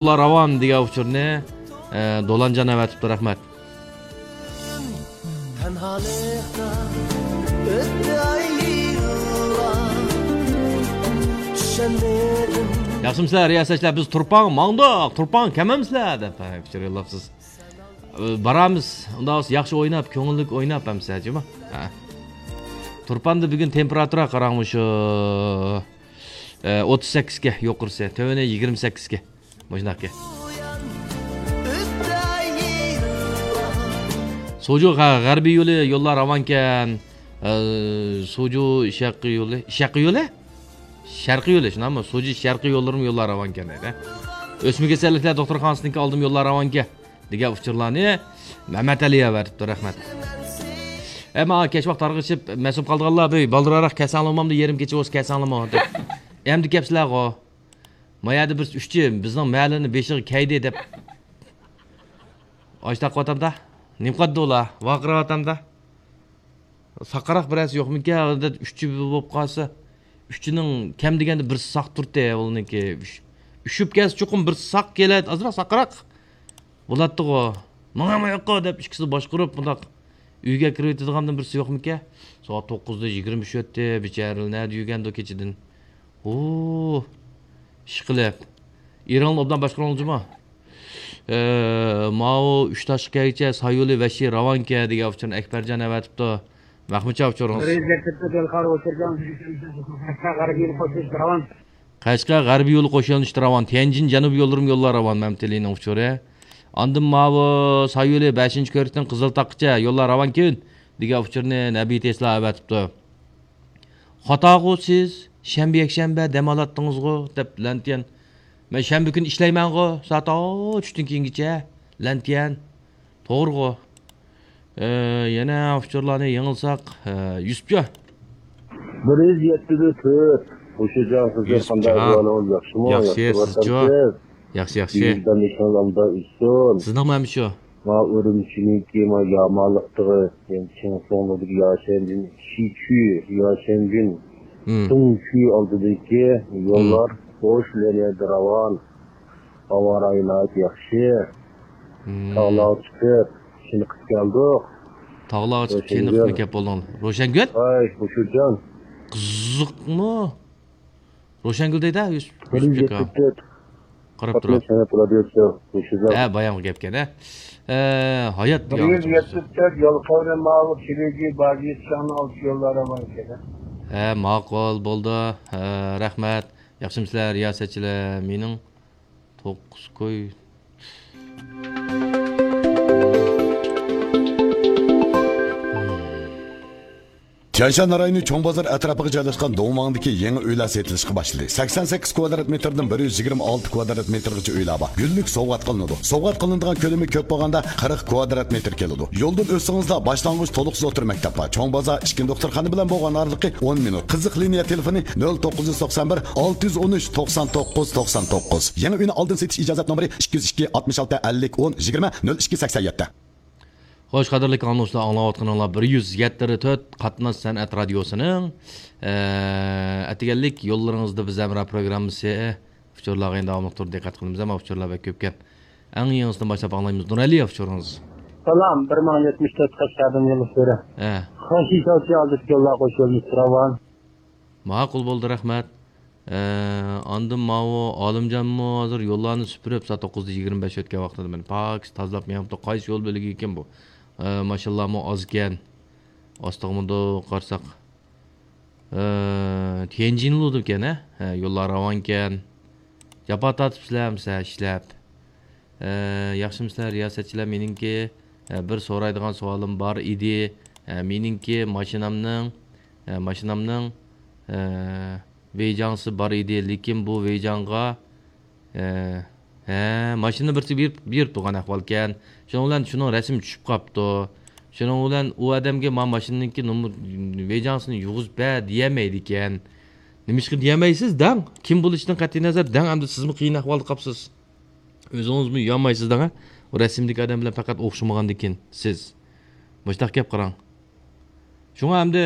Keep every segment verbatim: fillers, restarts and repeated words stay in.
يوللار راۋان دېگەن ئۇچۇرنى، ئە، دولانجان ئەۋەتىپتۇ، رەھمەت. تەنھالىقتا ئۆتتى ئاي يىللار. چۈشەنمىدىم. ياخشىمۇسىلەر، رىياسەتچىلەر؟ بىز تۇرپان ماڭدۇق، تۇرپان كەمەمسىلەر دەپ، ھە، ئۇچۇر يوللاپسىز. ئە، بارامىز، ئۇنداق بولسا ياخشى ئويناپ، كۆڭۈللۈك ئويناپ ئەمسە، جۇمۇ. ھە. تۇرپاندا بۈگۈن تېمپېراتۇرا قاراڭ مۇشۇ. ئە، ئوتتۇز سەككىزكە يۇقىرىسى، تۆۋىنى يىگىرمە سەككىزكە. مۇشۇنداقكەن. سوجۇ غە-، غەربىي يولى يوللار راۋانكەن. ئە، سوجۇ شەرقىي يولى، شەرقىي يولى؟ شەرقىي يولى، شۇنداقمۇ؟ سوجۇ شەرقىي يوللىرىمۇ يوللار راۋانكەن دەيدۇ. ئۆسمە كېسەللىكلەر دوختۇرخانىسىنىڭكى ئالدىمۇ يوللار راۋانكەن دېگەن ئۇچۇرلارنى مەمەت ئەلى ئەۋەتىپتۇ، رەھمەت. ئەمما كەچ ۋاقىت تارقىشىپ مەسۇم قالىدىغانلار، بۇ بالدۇرراق كەلسەڭلارمۇ، يېرىم كېچە بولسا كەلسەڭلارمۇ دەپ. ئەمدى كەپسىلەرغۇ. ما يەردە بىرسى ئۈچچى، بىزنىڭ مەھەللىنىڭ بېشىغا كەيدى دەپ. ئاش تاقىۋاتامدا. نېمە قىلىدۇ ئۇلار؟ ۋارقىراۋاتامدا. ساقراق بىرەرسى يوقمىكەن؟ ئادەت ئۈچچى بولۇپ قالسا، ئۈچچىنىڭ كەم دېگەندە بىرسى ساق تۇرتتى، ئۇنىڭكى ئۈش-، ئۈشۈپ كەلسە چوقۇم بىرسى ساق كېلەت، ئازراق ساقراق بولاتتىغۇ. ماڭا ماياققا دەپ ئىككىسى باشقۇرۇپ مۇنداق ئۆيگە كىرىۋېتىدىغاندىن بىرسى يوقمىكەن؟ سائەت توققۇزدا يىگىرمە ئۈچ ئۆتتى، بىچارىلەر نەدە يۈرگەندۇ كېچىدىن؟ ئۇ، ئىشقىلىپ. ئېرىڭلار ئوبدان باشقۇرۇڭلار جۇمۇ. ئە، ماۋۇ ئۈچ تاشقا كەلگۈچە سايولى ۋەھشىي راۋانكە دېگەن ئۇچۇرنى ئەكبەرجان ئەۋەتىپتۇ. مەخمۇتجان ئۇچۇرىڭىز. قەشقەر غەربىي يولى قوش يۆنىلىشتە راۋان. تيەنجىن جەنۇبىي يوللىرىمۇ يوللار راۋان، مەمتىلىنىڭ ئۇچۇرى. ئاندىن ماۋۇ سايولى بەشىنچى كۆرۈكتىن قىزىلتاغقىچە يوللار راۋانكەن دېگەن ئۇچۇرنى نەبى تېسلا ئەۋەتىپتۇ. خاتاغۇ سىز، شەنبە، يەكشەنبە دەم ئالاتتىڭىزغۇ، دەپ لەنتيەن. مەن شەنبە كۈنى ئىشلەيمەنغۇ، سائەت ئوتتۇزدىن كېيىنگىچە، لەنتيەن. توغرىغۇ. ئە، يەنە ئۇچۇرلارنى يېڭىلساق، ئە، يۈسۈپجان. بىر يۈز يەتتە تۆت. ھوشىجان، سىزگە قانداق ئەھۋالىڭىز، ياخشىمۇ؟ ياخشى، سىزچۇ؟ ياخشى، ياخشى. ئىشىڭىز ئالدىدا ئۆتسۇن. سىزنىڭمۇ ھەم شۇ؟ ما ئۈرۈمچىنىڭكى ما يامانلىقتىغى، يەنى چىڭ سۇڭلۇدىكى ياشەنجىن، شىچۈ ياشەنجىن، سۇڭچۈ ئالدىدىكى يوللار بوش لىنىيەدە راۋان. ھاۋا رايى ناھايىتى ياخشى. تاغلارغا چىقىپ، چېنىقىپ كەلدۇق. تاغلارغا چىقىپ، چېنىقىپمۇ كەپ بولدۇڭ؟ روشەنگۈل؟ ھاي، ھوشۇرجان. قىزىقمۇ؟ روشەنگۈل دەيدۇ، يۈسۈپ، بىر يۈز يەتتە تۆت. قاراپ تۇرۇڭ. قاتناش سەنئەت رادىيوسى، ھوشۇرجان. ھە، بايامقى گەپكەن، ھە. ئە، ھايات بىر يۈز يەتتە تۆت يول قەۋرە ماۋۇ كىرىگى باگىيىت شاڭنىڭ ئالدى يوللار ئامان ئىكەن. ھە، ماقۇل، بولدى. ھە، رەھمەت. ياخشىمۇسىلەر، رىياسەتچىلەر؟ مېنىڭ توققۇز كوي. تيەنشان رايونى چوڭ بازار ئەتراپىغا جايلاشقان دۇڭۋاڭدىكى يېڭى ئۆيلەر سېتىلىشقا باشلىدى. سەكسەن سەككىز كۋادرات مېتىردىن بىر يۈز يىگىرمە ئالتە كۋادرات مېتىرغىچە ئۆيلەر بار. گۈللۈك سوۋغات قىلىنىدۇ. سوۋغات قىلىنىدىغان كۆلىمى كۆپ بولغاندا قىرىق كۋادرات مېتىر كېلىدۇ. يولدىن ئۆتسىڭىزلا باشلانغۇچ تولۇقسىز ئوتتۇرا مەكتەپ بار. چوڭ بازار ئىككىنچى دوختۇرخانا بىلەن بولغان ئارىلىقى ئون مىنۇت. قىزىق لىنىيە تېلېفونى نۆل توققۇز يۈز توقسان بىر، ئالتە يۈز ئون ئۈچ، توقسان توققۇز، توقسان توققۇز. يېڭى ئۆينى ئالدىن سېتىش ئىجازەت نومۇرى ئىككى يۈز ئىككى، ئاتمىش ئالتە، ئەللىك، ئون، يىگىرمە، نۆل ئىككى، سەكسەن يەتتە. خوش، قەدىرلىك ئاڭلىغۇچىلار، ئاڭلاۋاتقىنىڭلار بىر يۈز يەتتە تۆت قاتناش سەنئەت رادىيوسىنىڭ، ئە، ئەتىگەنلىك يوللىرىڭىزدا بىز ھەمراھ پروگراممىسى. ئۇچۇرلارغا يەنە داۋاملىق تۇرىدۇ، دىققەت قىلىمىز، ئەمما ئۇچۇرلار بەك كۆپكەن. ئەڭ يېڭىسىدىن باشلاپ ئاڭلايمىز. نۇرئەلى، ئۇچۇرىڭىز. سالام، بىر مىڭ يەتمىش تۆت قەشقەردىن يوللىشىپ بېرە. ھە. خەنشى شاۋچى ئالدىدىكى يوللار قوش يۆنىلىشتە راۋان. ماقۇل بولدى، رەھمەت. ئە، ئاندىن ماۋۇ ئالىمجانمۇ ھازىر يوللارنى سۈپۈرۈپ، سائەت توققۇزدا يىگىرمە بەش ئۆتكەن ۋاقتىدا مېنى پاكىز تازىلاپ مېڭىپتۇ. قايسى يول بۆلىكى ئىكەن بۇ؟ ئە، ماشىنىلارمۇ ئازكەن. ئاستىغىمۇ قارىساق. ئە، تيەنجىنلۇدىكەن، ھە؟ ھە، يوللار راۋانكەن. جاپا تارتىپسىلەر ئەمسە ئىشلەپ. ئە، ياخشىمۇسىلەر رىياسەتچىلەر؟ مېنىڭكى، ئە، بىر سورايدىغان سوئالىم بار ئىدى. ئە، مېنىڭكى ماشىنامنىڭ، ئە، ماشىنامنىڭ، ئە، ۋېيجاڭسى بار ئىدى، لېكىن بۇ ۋېيجاڭغا، ئە، ھە، ماشىنا بىرسى بېرىپ، بېرىپ تۇرغان ئەھۋالكەن. شۇنىڭ بىلەن شۇنىڭ رەسىمى چۈشۈپ قاپتۇ. شۇنىڭ بىلەن ئۇ ئادەمگە ما ماشىنىنىڭكى نومۇر، ۋېيجاڭسىنى يۇغۇزۇپ بەر دېيەلمەيدىكەن. نېمىشقا دېيەلمەيسىز؟ دەڭ. كىم بولۇشىدىن قەتئىينەزەر، دەڭ، ئەمدى سىزمۇ قىيىن ئەھۋالدا قاپسىز. ئۆزىڭىزمۇ يانمايسىز دەڭ، ھە؟ ئۇ رەسىمدىكى ئادەم بىلەن پەقەت ئوخشىمىغاندىكىن سىز. مۇشۇنداق گەپ قاراڭ. شۇڭا ئەمدى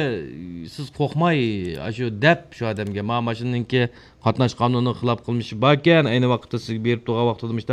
سىز قورقماي، ئاشۇ دەپ شۇ ئادەمگە، ما ماشىنىنىڭكى قاتناش قانۇنىغا خىلاپ قىلمىشى باركەن، ئەينى ۋاقىتتا سىزگە بېرىپ تۇرغان ۋاقتىدا مۇشۇ